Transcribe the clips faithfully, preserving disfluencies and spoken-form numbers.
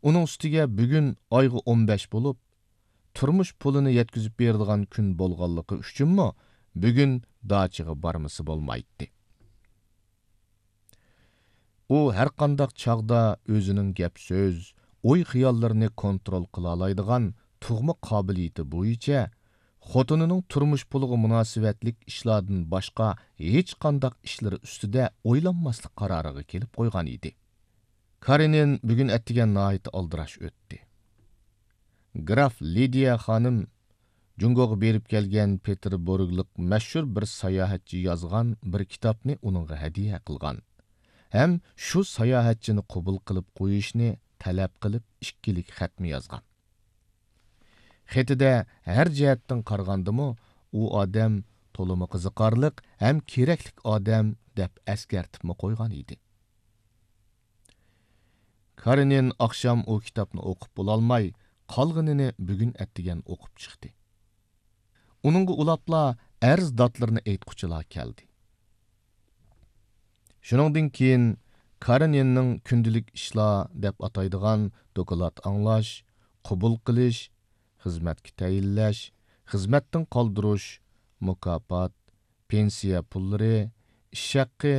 ئۇنىڭ ئۈستىگە بۈگۈن ئايغا ئون بەش بولۇپ، تۇرمۇش پۇلىنى يەتكۈزۈپ بېرىدىغان كۈن بولغانلىقى ئۈچۈنمۇ بۈگۈن داچىغا بارمىسا بولمايتتى. ئۇ ھەرقانداق چاغدا ئۆزىنىڭ گەپ-سۆز، ئوي-خىياللىرىنى كونترول قىلالايدىغان تۇغما قابىلىيىتى بويىچە خوتۇنىنىڭ تۇرمۇش پۇلىغا مۇناسىۋەتلىك ئىشلاردىن باشقا ھېچقانداق ئىشلىرى ئۈستىدە ئويلانماسلىق قارارىغا كېلىپ قويغان ئىدى. كارېنىن بۈگۈن ئەتىگەن ناھايىتى ئالدىراش ئۆتتى. گراف لىدىيە خانىم جۇڭگوغا بېرىپ كەلگەن پېتېربۇرگلۇق مەشھۇر بىر ساياھەتچى يازغان بىر كىتابنى ئۇنىڭغا ھەدىيە قىلغان ھەم شۇ ساياھەتچىنى قوبۇل قىلىپ قويۇشنى تەلەپ قىلىپ ئىككىلىك خەتمۇ يازغان. خېتىدە ھەر جەھەتتىن قارىغاندىمۇ ئۇ ئادەم تولىمۇ قىزىقارلىق ھەم كېرەكلىك ئادەم دەپ ئەسكەرتىپمۇ قويغان ئىدى. كارېنىن ئاخشام ئۇ كىتابنى ئوقۇپ بولالماي، قالغىنىنى بۈگۈن ئەتىگەن ئوقۇپ چىقتى. ئۇنىڭغا ئۇلاپلا ئەرز داتلىرىنى ئېيتقۇچىلار كەلدى. شۇنىڭدىن كېيىن كارېنىننىڭ كۈندىلىك ئىشلار دەپ ئاتايدىغان دوكلات ئاڭلاش، قوبۇل قىلىش، خىزمەتكە تەيىنلەش، خىزمەتتىن قالدۇرۇش، مۇكاپات، پېنسىيە پۇللىرى، ئىش ھەققى،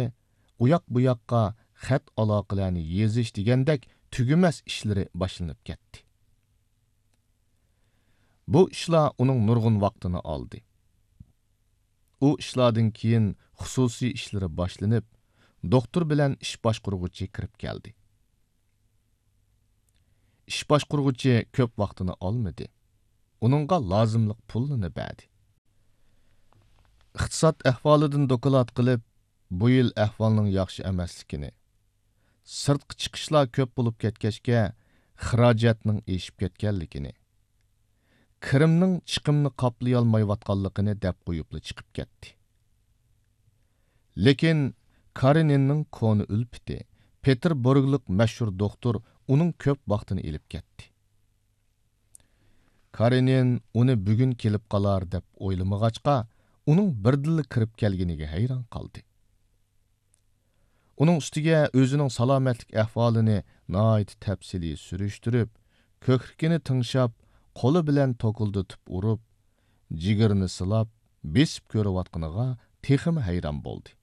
ئۇياق-بۇياققا خەت ئالاقىلەرنى يېزىش دېگەندەك تۈگىمەس ئىشلىرى باشلىنىپ كەتتى. بۇ ئىشلار ئۇنىڭ نۇرغۇن ۋاقتىنى ئالدى. ئۇ ئىشلاردىن كېيىن خۇسۇسىي ئىشلىرى باشلىنىپ، دوختۇر بىلەن ئىش باشقۇرغۇچى كىرىپ كەلدى. ئىش باشقۇرغۇچى كۆپ ۋاقتىنى ئالمىدى. ئۇنىڭغا لازىملىق پۇلنى بەردى. ئىقتىساد ئەھۋالىدىن دوكلات قىلىپ، بۇ يىل ئەھۋالنىڭ ياخشى ئەمەسلىكىنى، سىرتقا چىقىشلار كۆپ بولۇپ كەتكەچكە، خىراجەتنىڭ ئېشىپ كەتكەنلىكىنى، كىرىمنىڭ چىقىمنى قاپلىيالمايۋاتقانلىقىنى دەپ قويۇپلا چىقىپ كەتتى. لېكىن كارېنىننىڭ كونا ئۈلپىتى، پېتېربۇرگلۇق مەشھۇر دوختۇر ئۇنىڭ كۆپ ۋاقتىنى ئېلىپ كەتتى. كارېنىن ئۇنى بۈگۈن كېلىپ قالار دەپ ئويلىمىغاچقا، ئۇنىڭ بىردىنلا كىرىپ كەلگىنىگە ھەيران قالدى. ئۇنىڭ ئۈستىگە ئۆزىنىڭ سالامەتلىك ئەھۋالىنى ناھايىتى تەپسىلىي سۈرۈشتۈرۈپ، كۆكرىكىنى تىڭشاپ، قولى بىلەن توكۇلدىتىپ ئۇرۇپ، جىگىرىنى سىلاپ، بېسىپ كۆرۈۋاتقىنىغا تېخىمۇ ھەيران بولدى.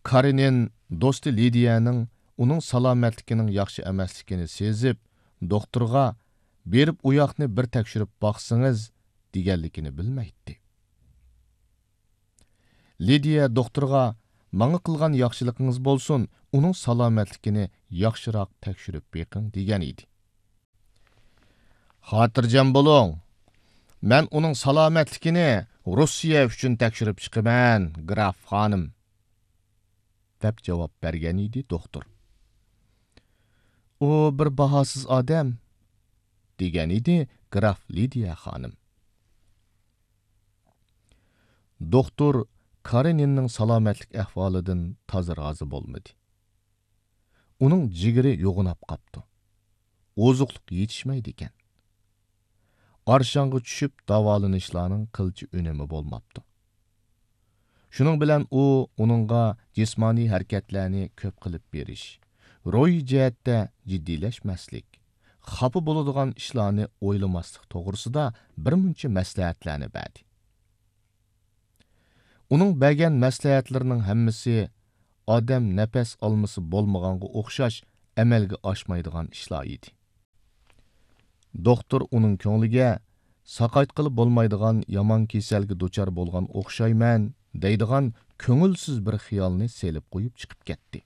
كارېنىن دوستى لىدىيەنىڭ ئۇنىڭ سالامەتلىكىنىڭ ياخشى ئەمەسلىكىنى سېزىپ، دوختۇرغا «بېرىپ ئۇ ياقنى بىر تەكشۈرۈپ باقسىڭىز» دېگەنلىكىنى بىلمەيتتى. لىدىيە دوختۇرغا «ماڭا قىلغان ياخشىلىقىڭىز بولسۇن، ئۇنىڭ سالامەتلىكىنى ياخشىراق تەكشۈرۈپ بېقىڭ» دېگەن ئىدى. «خاتىرجەم بولۇڭ، مەن ئۇنىڭ سالامەتلىكىنى روسىيە ئۈچۈن تەكشۈرۈپ چىقىمەن، گراف خانىم» دەپ جاۋاب بەرگەن ئىدى دوختۇر. «ئۇ بىر باھاسىز ئادەم» دېگەن ئىدى گراف لىدىيە خانىم. دوختۇر كارېنىننىڭ سالامەتلىك ئەھۋالىدىن تازا رازى بولمىدى. ئۇنىڭ جىگىرى يوغىناپ قاپتۇ. ئوزۇقلۇق يېتىشمەيدىكەن. ئارشاڭغا چۈشۈپ داۋالىنىشلارنىڭ قىلچە ئۈنۈمى بولماپتۇ. شۇنىڭ بىلەن ئۇ ئۇنىڭغا جىسمانىي ھەرىكەتلەرنى كۆپ قىلىپ بېرىش، روھىي جەھەتتە جىددىيلەشمەسلىك، خاپا بولىدىغان ئىشلارنى ئويلىماسلىق توغرىسىدا بىر مۇنچە مەسلىھەتلەرنى بەردى. ئۇنىڭ بەرگەن مەسلىھەتلىرىنىڭ ھەممىسى ئادەم نەپەس ئالمىسا بولمىغانغا ئوخشاش ئەمەلگە ئاشمايدىغان ئىشلار ئىدى. دوختۇر ئۇنىڭ كۆڭلىگە «ساقايتقىلى بولمايدىغان يامان كېسەلگە دۇچار بولغان ئوخشايمەن» دەيدىغان كۆڭۈلسىز بىر خىيالنى سېلىپ قويۇپ چىقىپ كەتتى.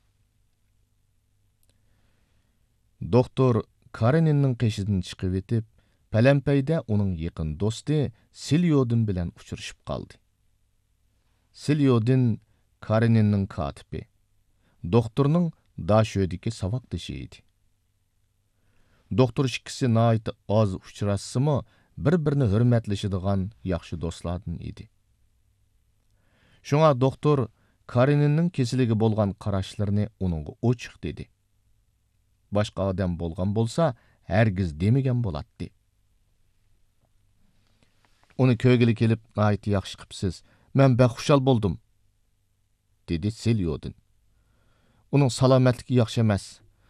دوختۇر كارېنىننىڭ قېشىدىن چىقىۋېتىپ، پەلەمپەيدە ئۇنىڭ يېقىن دوستى سىليودىن بىلەن ئۇچرىشىپ قالدى. سىليودىن كارېنىننىڭ كاتىپى، دوختۇرنىڭ داشۆدىكى ساۋاقدىشى ئىدى. دوختۇر ئىككىسى ناھايىتى ئاز ئۇچراشسىمۇ، بىر-بىرىنى ھۆرمەتلىشىدىغان ياخشى دوستلاردىن ئىدى. شۇڭا دوختۇر كارېنىننىڭ كېسىلىگە بولغان قاراشلىرىنى ئۇنىڭغا ئوچۇق دېدى. باشقا ئادەم بولغان بولسا، ھەرگىز دېمىگەن بولاتتى. «ئۇنى كۆرگىلى كېلىپ ناھايىتى ياخشى قىپسىز. مەن بەك خۇشال بولدۇم» دېدى سىليودىن. «ئۇنىڭ سالامەتلىكى ياخشى ئەمەس.